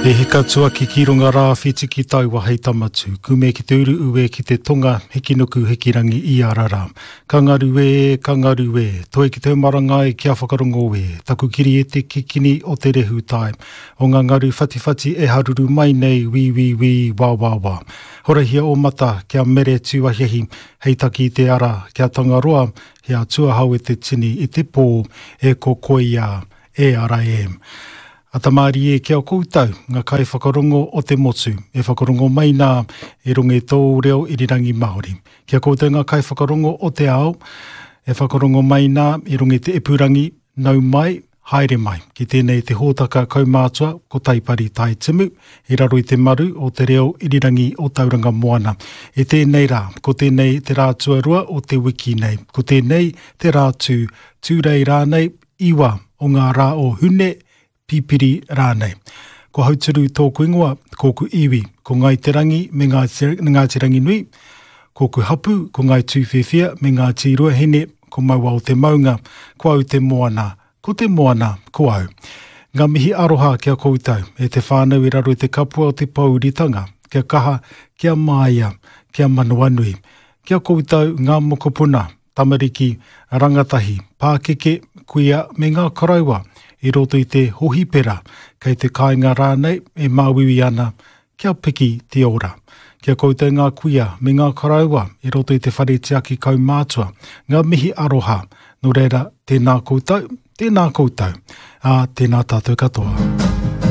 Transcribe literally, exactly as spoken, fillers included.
E hika tuaki ki runga rā whiti ki taua hei tamatu, kume ki te uru ue ki te tonga, hiki nuku hiki rangi i arara. Ka ngaru e, ka ngaru e, toi ki te marangai kia whakarongo e, taku kiri e te kikini o te rehu tai, o ngā ngaru whatiwhati e haruru mai nei, wī wī wī, wā wā wā. Horahia o mata, kia mere tūahiahi, hei taki i te ara, kia tangaroa, he atua hau e te tini i te pō, e kokoia, e ara e. Atamāri e kia koutou, ngā kai whakarongo o te motu, e whakarongo mai nā e ronge tō reo irirangi Māori. Kia koutou ngā kai whakarongo o te ao, e whakarongo mai nā e ronge te epurangi, nau mai, haere mai. Ki tēnei te hōtaka kaumātua, ko Taipari Tai Timu, i raro i te maru o te reo irirangi o Tauranga Moana. E tēnei rā, ko tēnei te rā tuarua o te wiki nei, ko tēnei te rā tū, tūrei rānei, iwa o ngā rā o Hune, Pipiri rānei. Ko Hauturu tōku ingoa, kōku iwi, ko Ngai Te Rangi me Ngāti, Ngāti Ranginui, kōku hapu, ko Ngai Tūwhiwhia me Ngāti Ruahine, ko Mauao te maunga, ko au te moana, ko te moana, ko au. Ngā mihi aroha kia koutou, e te whānau i raro i te kapua o te pouritanga, kia kaha, kia māia, kia manawanui. Kia koutou ngā mokopuna, tamariki, rangatahi, pākeke, kuia me ngā koroua, i roto i te hohipera, kei te kāinga rānei e māuiui ana, kia piki te ora. Kia koutou ngā kuia me ngā koroua i roto i te whare tiaki kaumātua, ngā mihi aroha, nō reira, tēnā koutou, tēnā koutou, ā, tēnā tātou katoa.